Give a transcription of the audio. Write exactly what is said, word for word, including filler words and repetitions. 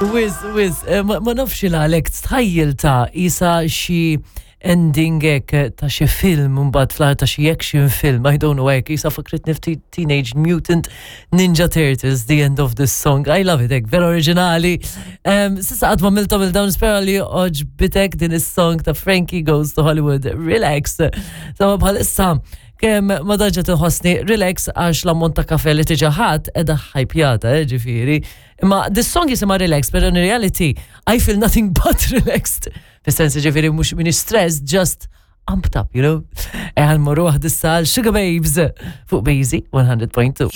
Wiz, wiz, eh, ma ma nafx il-għalek tħajjil ta' isa xi ending hekk ta' xi film mbagħad fl ta' xi action film, I don't know hekk, isa fakritni ftit Teenage Mutant Ninja Turtles, the end of this song. I love it, hekk, vera oriġinali. Um, S'issa qatt m'għamilthom 'il dawn nispera li għoġbitek din is-song ta' Frankie Goes to Hollywood. Relax. Sama bħalissa kemm ma daġa tinħossni relax għax l-ammont ta' kafe li diġà ħadt edha ħajpjata, eh, ġifieri. Imma this song jisimha relax, but in reality, I feel nothing but relaxed. Fis-sens ġifieri mhux minn stress, just amped up, you know? Eħan morru għad Sugababes fuq Bazy one hundred point two.